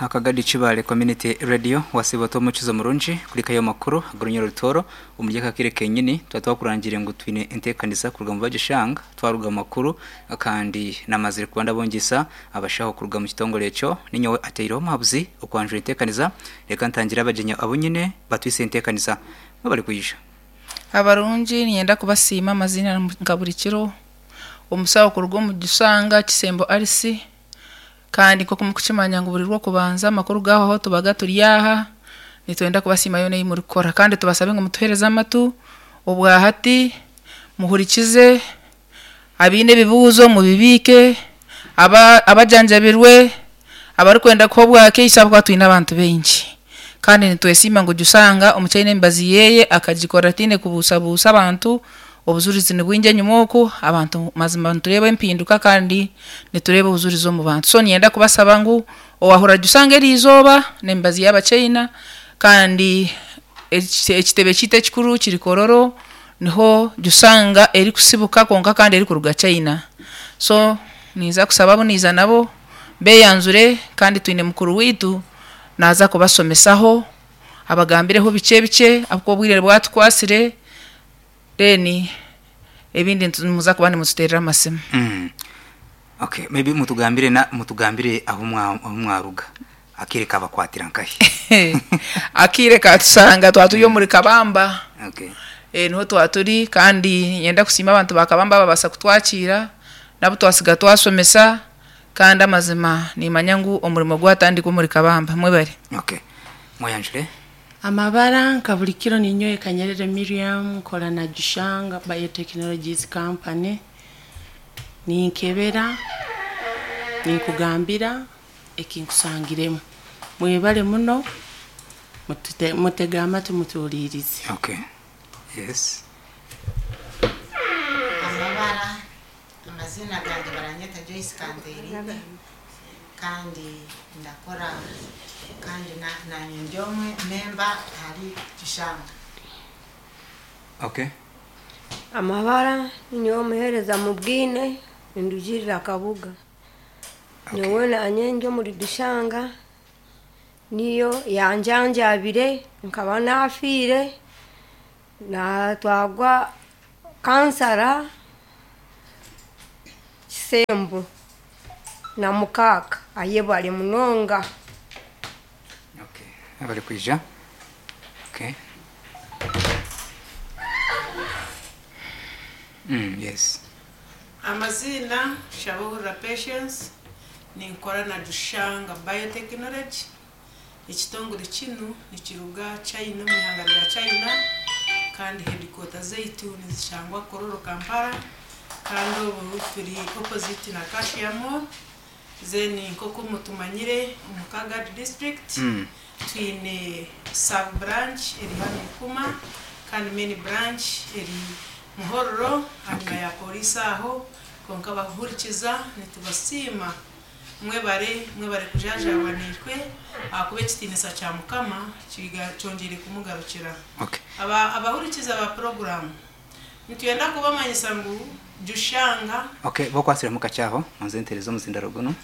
Akagadi Kibaale Community Radio wasiiba ota omukizo murungi kurikayo amakuru ag'orunya orutooro omuri aka kaire kenyini twaba twakurangire ngu twine enteekanisa kuruga omu Bagishang twaruga omu makuru kandi namazire kuba ndabongyesa abashaho kuruga omu kitongore ekyo ninyowe ateireho omuhabuzi okwanjura enteekaniza reka ntangire abagyenyi abu nyine batwise enteekanisa mwebare kwija. Abarungi niinyenda kubasiima amaziina nka buri kiro, omusaho kuruga omu Gishanga Kisembo Alice kandi nk'oku murikukimanya ngu buri Rwokubanza amakuru gaahwaho tubaga turi aha, nitwenda kubasiima yoona ei murikukora kandi tubasabe ngu mutuheereze amatu obwahati, muhurikize, abaine ebibuuzo mubibiike, aba abajanjabirwe, abarikwenda kuha obwakaiso ahabw'okuba twine abantu baingi kandi nitwesiima ngu Jusanga omuchaina emibazi yeeye akagikora ataine kubuusabuusa abantu, obujurizi nibwingi enyima oku, abantu mazima nitureeba empinduka kandi nitureeba obujurizi omu bantu. So niinyenda kubasaba ngu owahurira Jusanga eriizooba n'emibazi y'abachaina kandi ekitebe kyaitu ekikuru kiri Kololo Niho Jusanga erikusibuka kwonka kandi erikuruga China. So ninza kusaba abu niiza nabo beyanjure kandi twine mukuru waitu naaza kubasomesaho abagambireho bikye bikye ahabw'okuba obwire bwatukwatsire then ebindi nimuza kuba nimututeerera amasimu. Okay, maybe mutugambire na mutugambire ahu ahu mwaruga. Akaire kabakwatira nkahi? Akaire katushanga twaba turi omuri Kabamba. Okay. Niho twaba turi kandi niinyenda kusiima abantu ba Kabamba ababaasa kutwakiira n'abu twasiga twashomesa kandi amazima niimanya ngu omurimo gwatandikwa omuri Kabamba. Mwebare. Okay. Mweyanjure. Amabara nka buri kiro ninyowe Kanyerere Miriam nkora na Jushanga Biotechnologies Company ninkebera ninkugambira eki nkusangiremu. Mwebale muno, mutege amatu mutuhuliirize. Okay. Yes. Amabara, Amaziina gangye baranyeta Joyce Kanterinde kandi ndakora kandi nanye ndi omwe memba ahari Kishanga. Okay. Amabara, Ninyowe Muhereza Mubwine nindugiirira Kabuga. Nyowe naanye ndi omuri Dushanga, niyo yanjanjabire nkaba naafiire, naatwarwa kansara Kisembo na mukaaka ayebare munonga. Okay, abarikwija. Okay. Yes. Amaziina, Shabuhurira Patience, ninkora na Jushanga Biotechnology. Ekitongore kinu nikiruga China omu ihanga rya China kandi headquarter zaitu nizishangwa Kololo Kampala kandi obu turi opposite na Cashier Mall. Then nk'oku mutumanyire omu Kagadi district twine sub branch eri hanu Ikuma kandi main branch eri Muhorro ahanyima ya police aho, kwonka abakuhurikiza nitubasiima mwebare mwebare kujanjaabwa naitwe ahakuba ekitiinisa kya Mukama kyongyeire kumugarukira. Aba abahurikiza ba puroguraamu nitwenda kubamanyisa ngu Jushanga. Okay, bokwatsiremu kakye aho, ngonze nteereze omuzindaro gunu.